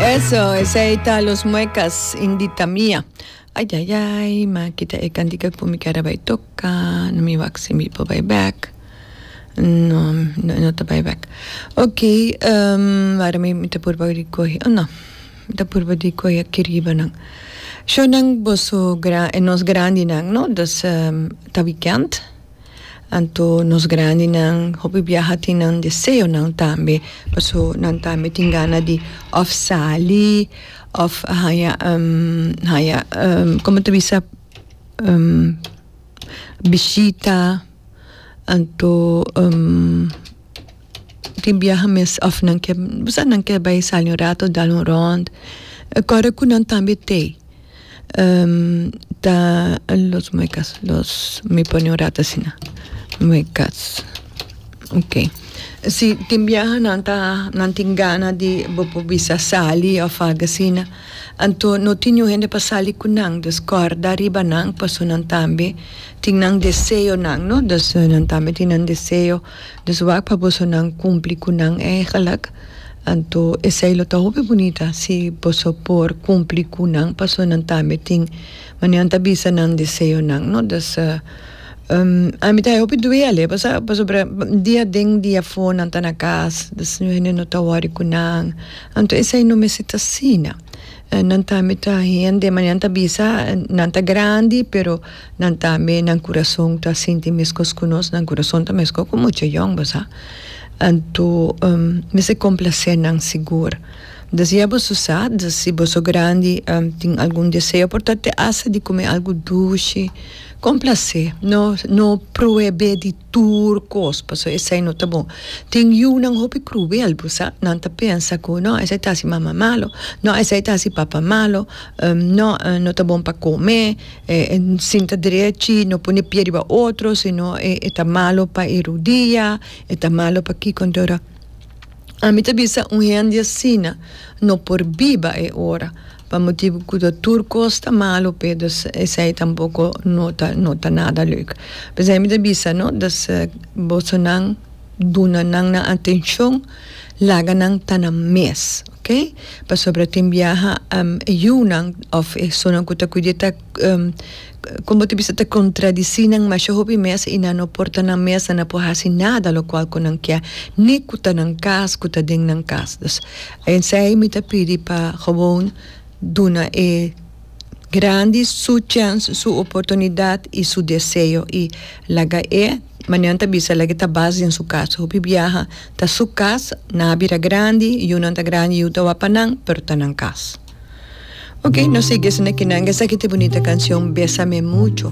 Eso, esei ta Los Muecas, Indita Mia. Ay ay ay, ma kita e kantika ku mi kier a bai toka, no mi wak si mi por bai bek. No, no, no ta bai bek. Ok, wara mi ta purba di kohe, oh no, mi ta purba di kohe aki riba nan. Shownan boso gra, nos grandinan, no, dus ta weekend. Anto nos grandinan hopi biaha tin nan deseonan tambe, paso nan tambe tin gana di of sali of haña haña como ta bisa bishita anto tin biaha mes of nan ke bo sa nan ke bai sali un rato dal un rond kòrda ku nan tambe t'ei. Ta los muecas los mi pone un rato asina muecas ok si tin biaha nan ta nan tin gana di bo por bisa sali of algo asina anto no tin niun hende pa sali ku nan dus kòrda riba nan pasobra nan tambe tin nan deseonan no dus nan tambe tin nan deseo dus wak pa boso nan kumpli ku nan eigenlijk. Anto esei lo ta hopi bunita si boso por cumpli cu nan, pasobra nan tambe tin manera nan ta bisa nan deseonan, no? Dus ami ta hopi duele pasobra pasobra dia aden dia afo nan ta na cas, dus niun hende no ta wori cu nan, anto esei no mester ta asina. Nan tambe ta hende, manera nan ta bisa nan ta grandi pero nan tambe nan curason ta sinti mescos cu nos, nan curason ta mescos cu mucha yong, bo sa. Anto mester complacé nan sigur. Dus ya boso sa, dus si boso grandi tin algun deseo por ta te hasta di come algo dushi, complacé, no no prohibé di tur cos pasobra esei no ta bon. Tin yunan hopi cruel bo sa, nan ta pensa cu no esei ta haci mama malo, no esei ta haci papa malo, no no ta bon pa come, sinta drechi, no pone pie riba otro, sino e ta malo pa e rudia. E ta malo pakiko anto ora ami ta bisa un hende asina no por biba e ora pa motibu ku ta tur kos ta malo p'e dus esei tampoko no ta no ta nada leuk p'esei mi ta bisa no dus bosonan duna nan nan atenshon laga nan ta nan mes ok pasobra tin biaha e yunan òf esunnan ku ta kuid'é ta. Kon bo ta bisa ta kontradisí nan masha hopi mes i nan no por ta nan mes, nan no por hasi nada lokual ku nan kier, ni ku ta nan kas, ku ta den nan kas. Dus, esei mi ta pidi pa gewoon duna e grandi su chèns, su oportunidat i su deseo i laga e, manera nan ta bisa, laga e ta bas den su kas. Hopi biaha ta su kas, nan a bira grandi, yunan ta grandi, yu ta wak pa nan, pero ta nan kas. Ok, nos sigui esaki nan. Esaki ta e bunita cancion Besame Mucho.